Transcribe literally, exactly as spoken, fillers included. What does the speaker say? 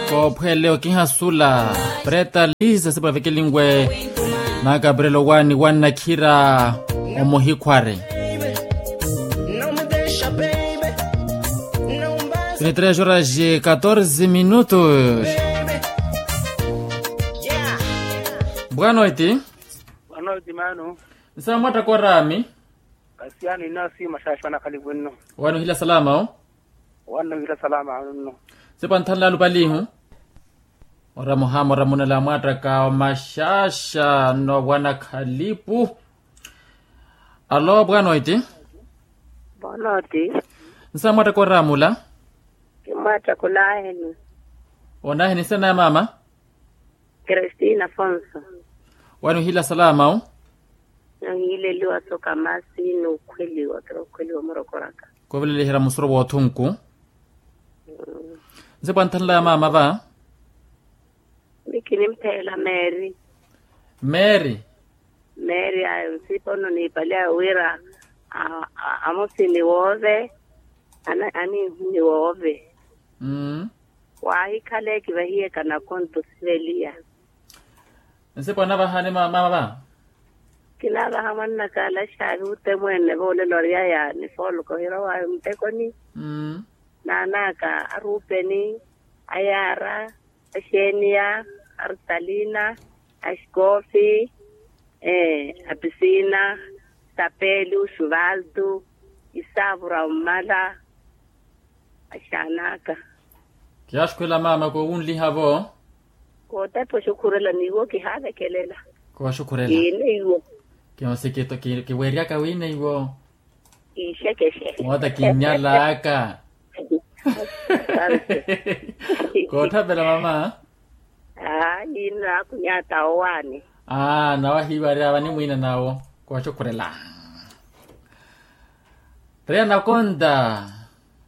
Koophwele okihasula preta lisa sipavekelinwe. Na gabriel owani wannakhira omuhikhware. Tini tres horas e catorze minutos. Bwanoiti. Bwanoiti mano. Nsa mwatta korami. Kasiyano inasi mashasha wanakhalivu nno. Wani uhila salama o. Wani uhila salama nno. Sepwa nthanla lupalihu. Ora muhama ora munela mwattaka omashasha nno wanakhalipu. Alo bwanoiti. Bwanoiti. Nsa mwattaka oramula. Kimwattaka onaheni. Onaheni nsa naye mama. Kristina afonso. Wani uhila salama o. Nahileliwa soka masi n'ukhweliwa kira okhweliwa murokoraka. Kovelelihira musoro w'othunku. Nse pwanthanela ya mama va. Mikinimphela mary. Mary. Mary ayo nsipa ono niipali ayo wira amosi ni woove. Anihu ni woove. Waahikhala ekivahiye kanakonto siveliya. Nsipa onavahani mama va. Kinavaha mwannaka alaxaavi utemwene voolelo aryaya ni fooloko hirowaayo muttekoni. Naanaka aruupeni, ayaara, axeeniya, artalina, axikoofi, apisina, sapelu suvaltu, isaavura ommala. Axaanaka. Kiyaaxukhurela mama koowunliha vo. Kootapha oxukhurela n'iwo kihaavekelela. Kowaxukhurela. Kiine iwo. Kiweeryaka wiine iwo. Kiixekexe. Moota kinnyalaka. Koothapela mama. Aa yiinno akhunyaata owaani. Aa nawahiiwari avani mwiina nawo. Kowaxukhurela. Reya nakonta.